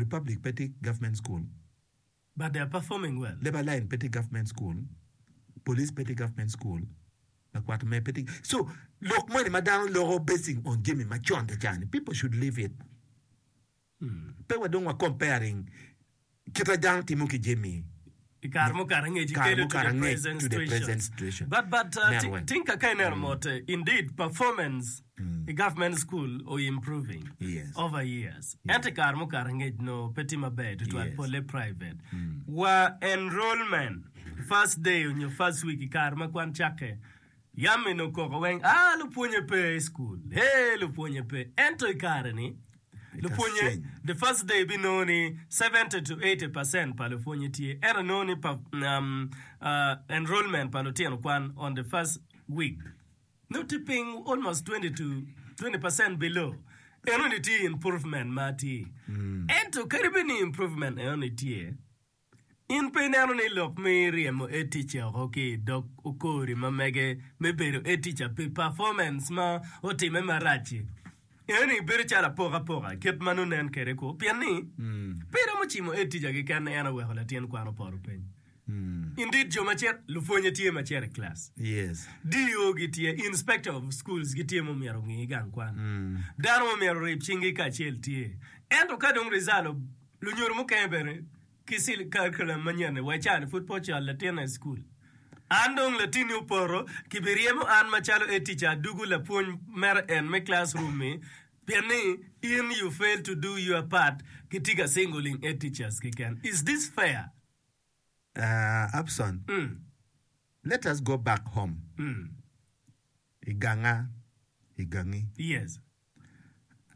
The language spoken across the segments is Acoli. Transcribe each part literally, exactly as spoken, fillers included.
Republic pe tye government school. But they are performing well. Labour line pe tye government school. Police pe tye government school. Lakwat me pe tye. So lok moni ma dano loko basing on jami macon ca ni people should leave it. Pe wa dong wa comparing kita dano timo ki jami I kare mukato angec kare ikelo to mukato the angec present to the situation. present situation. But but uh, Neno ti- weng. think ka ineno mot eh, indeed performance i government school o improving Yes. over years. Ento i kare mukato angec no pe tye maber tutwal Yes. pole private. Wa enrollment first day onyo first week i kare ma kwan cakke yam eno koko weng ah lupwonye pe i school hey lupwonye pe ento i kare ni It has lupwonye changed. the first day binongo ni seventy to eighty percent pa lupwonye tye ento nongo ni pa, um, uh, enrollment pa lutino kwan on the first week nongo tye piny almost twenty to twenty percent below eno ni tye improvement ma tye ento kadi bed ni improvement eno ni tye in pe ineno ni lok me ryemo head teacher oko ki i dog okori ma mege me bedo head teacher pi performance ma otime marac-ci eno ni bedo calo apokapoka kit ma nongo nen kwede ko pien ni pe romo cimo head teacher keken ni en oweko latin kwan opoto piny indeed jo ma cito lupwonye tye ma cito i class Yes. D O gitye inspector of schools gitye ma omyero ongi gang kwan dano ma omyero orib cinggi kacel tye ento ka dong result lunyodo mukene bene ki sil curriculum manyen-ni wa icani pud pe ocwalo latinne i cukul. An dong latinni opoto, kibiryemo an macalo head teacher adugu lapwony mere en me classroom-mi pien ni in you fail to do your part kitye ka singling head teachers keken. Is this fair? Uh, Abson, Mm. let us go back home. Mm. I ganga, i gangi. Yes.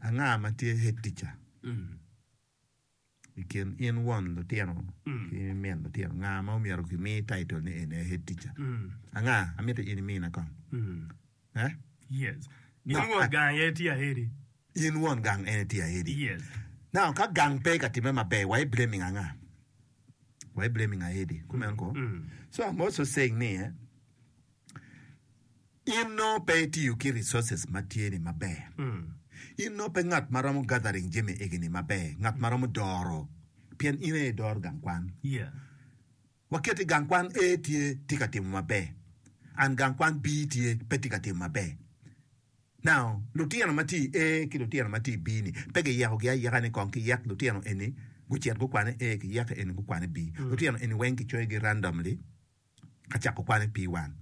Anga ma tye head teacher? Mm. I kin in won lutino ki min lutino, nga ma omyero kimi title ni en aye head teacher? Anga? Amito in imina kong. Eh? Yes. In No, won I- gang aye tye ahedi. In won gang en tye ahedi. Yes. Now, ka gang pe ka time maber, why blaming anga? Why blaming ahedi? Kumeno ko? So I'm also saying ni, eh, in no pe itiyo ki resources ma tye ni maber. In no pe ngat ma romo gathering jami egini maber, ngat ma romo doro, pien in aye idoro gang kwan. Yeah. Waket i gang kwan A tye tye ka timo maber, and gang kwan B tye pe tye ka timo maber. Now, lutino ma tye i A ki lutino ma tye i B ni pe giyekogi ayeka ni kong kiyek lutino eni gucit gukwane A kiyeke eni gukwane B. Lutino eni weng kicoyogi randomly ka cako kwane P one.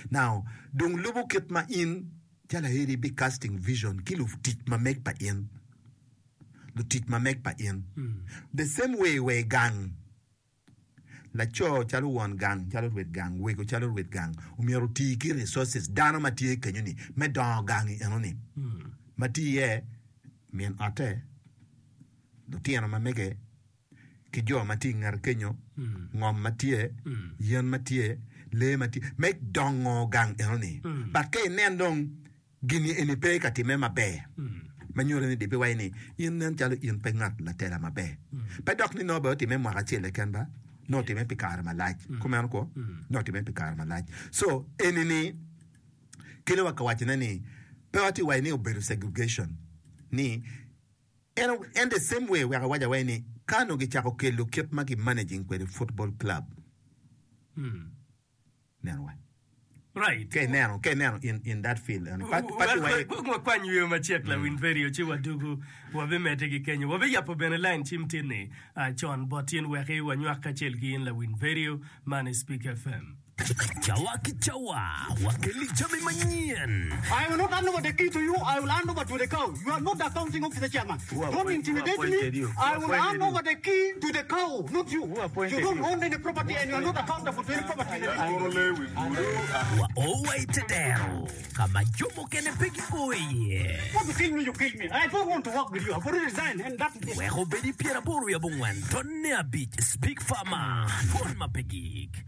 Now, dong lubo kit ma in calo aeri bi casting vision ki lutic ma meg pa in. Lutic ma meg pa in. The same way we gang. Laco calo won gang, calo rwed gang, wego calo rwed gang, omyero oti ki resources, dano ma tye kenyo ni, me dongo gang i eno ni. Ma tye iye min otte, lutino ma mege, ki jo ma tye i ngete kenyo, ngom ma tye, yen ma tye, lee ma tye, me dongo gang eno ni. But ka inen dong gini eni pe ka timme maber, ma nyuto ni dibiwaco ni in nen calo in pe ngat latela maber. Pe dok ni nongo bene otimme mwaka acel keken ba, nongo otimme pi kare malac. Kumeno kwo? Nongo otimme pi kare malac. So eni ni kelo wa ka wacone ni pe watye waco ni obedo segregation ni en, en the same way wek awac awaci ni ka onongo gicako kelo kit ma gi managing kwede football club neno wa. Right. Ka ineno, ka ineno in, in that field, and pa, pa ti waye, Wek wakwany yweyo macek lawiny vedio ci wadugu wabimedde ki kenyo. Wabiyabo bene line cim tin-ni ah, con bot in weki wanywak kacel ki in lawiny vedio man i Speak F M. Cawa ki cawa, wakeli jami manyen. I will not hand over the key to you, I will hand over to the cow. You are not the accounting officer chairman. Who Don't appoint, who intimidate appointed me. you? Who I will appointed hand you? over the key to the cow, not you. Who You appointed don't you? own any property and you are not accountable to any property in the district. Wa o wa i te dero ka ma jo mukene pe gio iye. Want to kill me, you kill me. I don't want to work with you. I've already resigned and that is it. Wek obed i pyeraboro wiye abongwen tonne abic Speak Farmer, Dwon ma pe gik.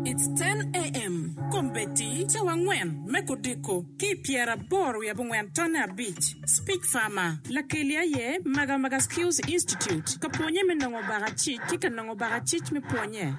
It's ten A M. Kombeddi cawa angwen me kudiko ki i pyeraboro wiye abongwen tonne abic. Speak Farmer, Lakeli aye Magamaga Skills Institute ka pwonye me nongo bakacic ki ka nongo bakacic me pwonye.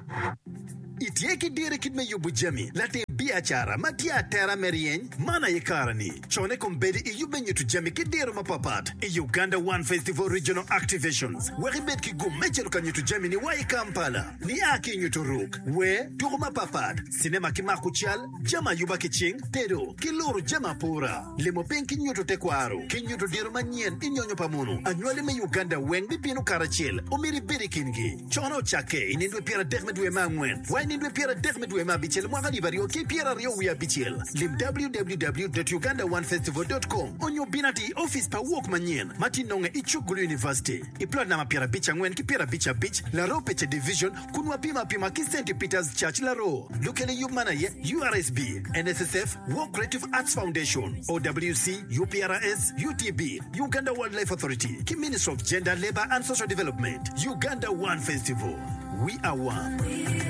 Itye ki diro i kit me yubo jami, latim biacara ma tye atera me ryeny? Man aye kare-ni. Cone kombeddi iyub me nyuto jami ki diro mapatpat i Uganda One Festival Regional Activations wek ibed ki gum me cito ka nyuto jamini wa i Kampala. Nia ki i nyuto ruk, wer, tuko mapatpat, cinema ki mako cal, jami ayuba ki cing, tedo, ki luro jami apura, limo piny ki nyuto tekwaro, ki nyuto diro manyen i nyonyo pa munu. Anywali me Uganda weng bibino karacel, omyero ibed i kingi. Cone ocakke i nindwe pyeradek me dwe me angwen wa i nindwe pyeradek me dwe me abicel mwaka alip aryo ki pyeraryo wiye abicel. Lim www dot uganda one festival dot com onyo bin atir i opic pa Wok Manyen ma tye nonge i cuk Gulu University i plot namba pyerabic angwen ki pyerabic abic, Laroo Pece Division, kun wapimo apima ki Centi Peters Church Laroo. Lukel i yub man aye U R S B, N S S F, Wok Creative Arts Foundation, O W C, U P R S, U T B, Uganda Wildlife Authority ki Ministry of Gender, Labour and Social Development. Uganda One Festival. We are one.